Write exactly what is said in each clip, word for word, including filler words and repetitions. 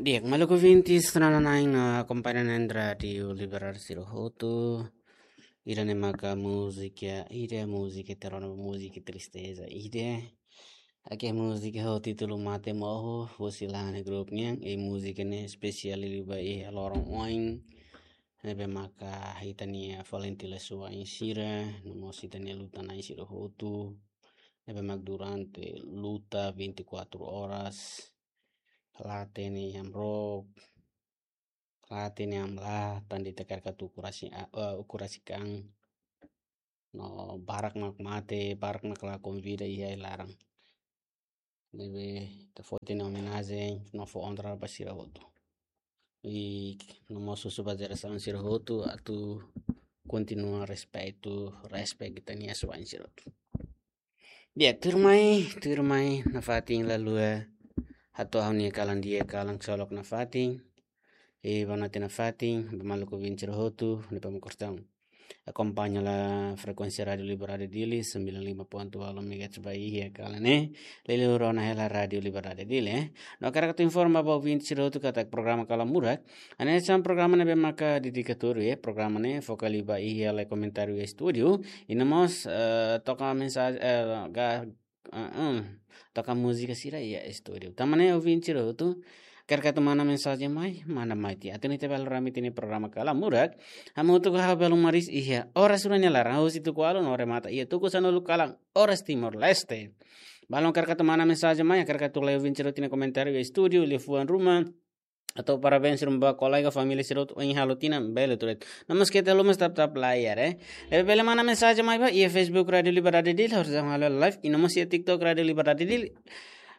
Di'ak, maluk ouvintes, sira-ne'e akompaña Rádiu Liberdade sira hotu. Ida-ne'e maka múzika, ida múzika terror, múzika tristeza, ida. Ida-ne'e múzika ho títulu Mate Moho, husi Lahane Group nian, i múzika ne'e espesiál liuliu ba iha loron oin. Ne'ebé maka ita-nia valente lesoa sira, no mós ita-nia luta-na'in sira hotu. Ne'ebé mak durante luta vinte e quatro horas, la hatene iha am rok, la hatene iha am lahat, tan de'it karik atu ukun rasik, ah, eh, ukun rasik an. No barak mak mate, barak mak lakon vida iha ai-laran. Ne'ebé ita fó ita-nia omenajen, no fó onra ba sira hotu. I no mós husu ba jerasaun sira hotu atu kontinua respeitu, respect ita-nia lesoa sira hotu. Di'ak, tuirmai, tuirmai, nafatin lalua, hato'o ha'u-nia kalan di'ak, kalan ksolok nafatin. I boa noite nafatin ba maluk ouvinte sira hotu, ne'ebé mak kostum akompaña la frekuénsia Rádiu Liberdade Dili, sembilan lima ponto delapan megahertz ba iha kalan ne'e, liuliu rona hela Rádiu Liberdade Dili, eh. No hakarak atu informa ba ouvinte sira hotu katak programa Kalan Murak, hanesan programa ne'ebé maka dedikadu, eh, programa ne'e foka liu ba iha lee komentáriu estúdiu, i no mós, eh, toka mensajen, eh, ga-, ah, hum, toka múzika sira iha estúdiu. Tanba ne'e ouvinte sira hotu, karik atu manda mensajen mai, manda mai tiha. Atu nune'e ita bele ramai tiha ita-nia programa Kalan Murak, hamutuk ho ha'u Belo Maris iha oras rua nia laran, husi tuku ualu no remata iha tuku sanulu kalan, oras Timor-Leste. Balun karik atu manda mensajen mai, karik atu lee ouvinte sira hotu nia komentáriu iha estúdiu, liafuan ruma, atu parabéns ruma ba kolega, família sira hotu ohin halo tinan, bele tuir. No mós keta haluha tap-tap layar, eh. Ne'ebé bele manda mensajen mai ba iha Facebook Rádiu Liberdade Dili, orsida halo live, i no mós iha TikTok Rádiu Liberdade Dili,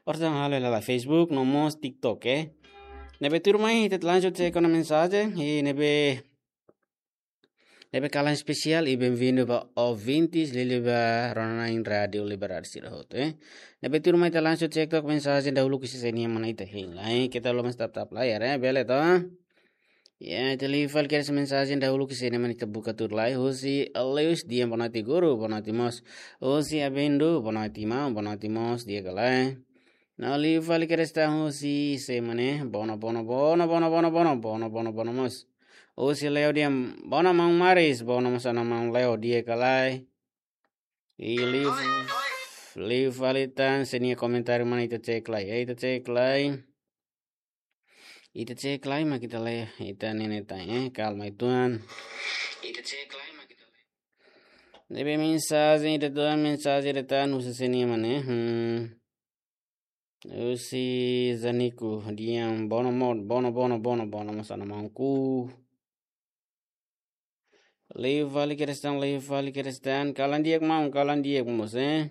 orsida halo live Facebook, no mós TikTok, eh. Ne'ebé tuirmai, ita lanjut se kona mensajen, i ne'ebé, ne'ebé kalan espesiál, i bem-vindo ba ouvintes, liuliu ba rona-na'in Rádiu Liberdade sira hotu, eh. Ne'ebé tuirmai ita lanjut cek tok mensajen dahuluk ida-ne'e mak ita hein lai, eh. Keta haluha tap-tap layar, eh, bele to? Ya, ita liu fali kedas mensajen dahuluk ida-ne'e mak ita buka tuir lai, husi Aleus, di'ak, boa noite guru, boa noite mós. Husi Abendu, boa noite maun, boa noite mós, di'ak ka lae. No liu fali kedas tan husi sé mak ne'e, bono, bono, bono mós. Husi Leo, di'ak, bono maun Maris, bono mós ona maun Leo, di'ak ka lae. I liu, liu fali tan sé nia komentáriu mak ita cek lai, eh, ita cek lai. Ita cek lai mak ita lee, ita ne'e tan, eh, kalma uitoan. Ita cek lai mak ita lee. Ne'ebé mensajen ida tan, mensajen ida tan, husi sé nia mak ne'e, hmm. Husi Zaniku, di'ak, bono mo-, bono, bono, bono, bono mós ona maun Ku. Liu fali kedas tan, liu fali kedas tan. Kalan di'ak maun, kalan di'ak mós, eh.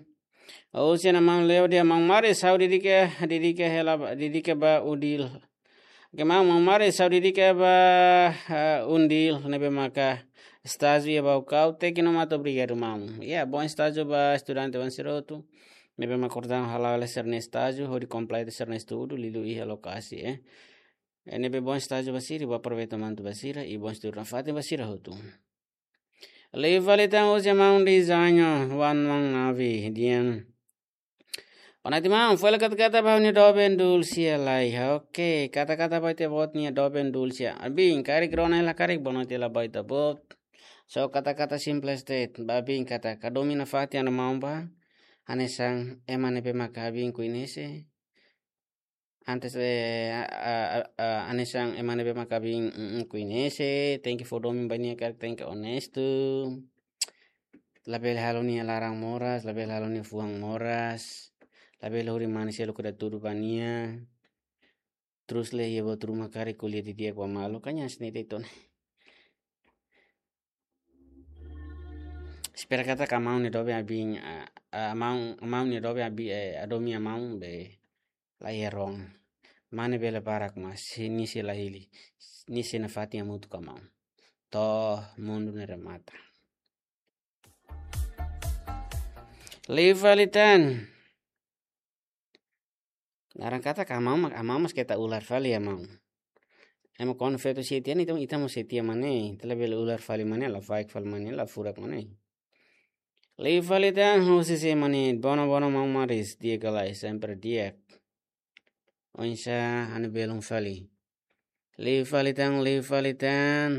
Husi ona maun Leo, di'ak, maun Maris, ha'u dedika, dedika hela ba, dedika ba UNDIL. Oke, maun, maun Maris, ha'u dedika ba, eh, UNDIL, ne'ebé maka estájiu iha Baucau, teknik no mata, obrigadu maun. Ya, bom estájiu ba estudante-oan sira hotu. Ne'ebé mak kostum hala'o hela sira-nia estájiu, hodi kompleta sira-nia estudu, liuliu iha lokasi, eh. Eh, ne'ebé bom estájiu ba sira, bom aproveitu momentu ba sira, i bom estudu nafatin ba sira hotu. Liu fali tan husi maun Dezaño, wan maun Navi, di'ak. Boa noite maun, fó hela kata-kata ba ha'u-nia doben Dulcia lai. Oke, kata-kata ba ita-boot nia doben Dulcia. Abin, karik rona hela karik, boa noite hela ba ita-boot. So kata-kata simples de'it, ba abin katak, ka domin nafatin ona maun ba, hanesan ema ne'ebé maka abin koñese. Antes, eh, a, a, a, a, hanesan ema ne'ebé maka abin, mm, mm, koñese, tenke fó domin ba nia karik tenke onestu. Labele halo nia laran moras, labele halo nia fuan moras. Labele hodi mane selu kada tudu ba nia. Terus le iha buat ruma karik ko'alia didi'ak ba malu, kan hanesan ne'e de'it ona. Espera katak maun nia doben abin, a, a, maun, maun nia doben abin, eh, a domin maun be la iha rona. Mane bele barak mas, nia sei la hili, nia sei nafatin hamutuk ho maun. To'o mundu ne'e remata. Liu fali tan. Laran katak maun, maun mós keta ular fali maun. Ema kuandu feto sei tiha, ita, ita mós sei tiha mak ne'e, ita labele ular fali mak ne'e, lafaek fali mak ne'e, lafurak mak ne'e. Liu fali tan husi sé mak ne'e, bono, bono maun Maris, di'ak ka lae, sempre di'ak. Oinsá ha'u-nia belun fali. Liu fali tan, liu fali tan.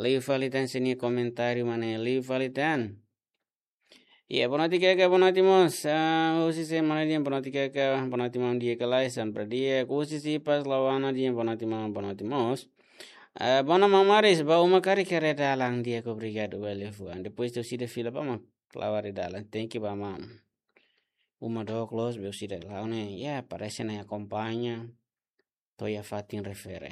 Liu fali tan, sira-nia komentáriu mak ne'e, liu fali tan. Iya, boa noite kaka, boa noite mós. Ah, husi sé mana dehan boa noite kaka, boa noite maun di'ak ka lae, sempre di'ak. Husi Sipas Lauana dehan boa noite maun, boa noite mós. Ah, boa noite maun Maris, ba uma karik haree dalan di'ak, obrigadu ba liafuan. Depois de orsida fila ba mak la'o haree dalan, thank you ba maun. Uma dook loos, be orsida la'o ne'e, ya, parese ne'e akompaña to'o iha fatin refere.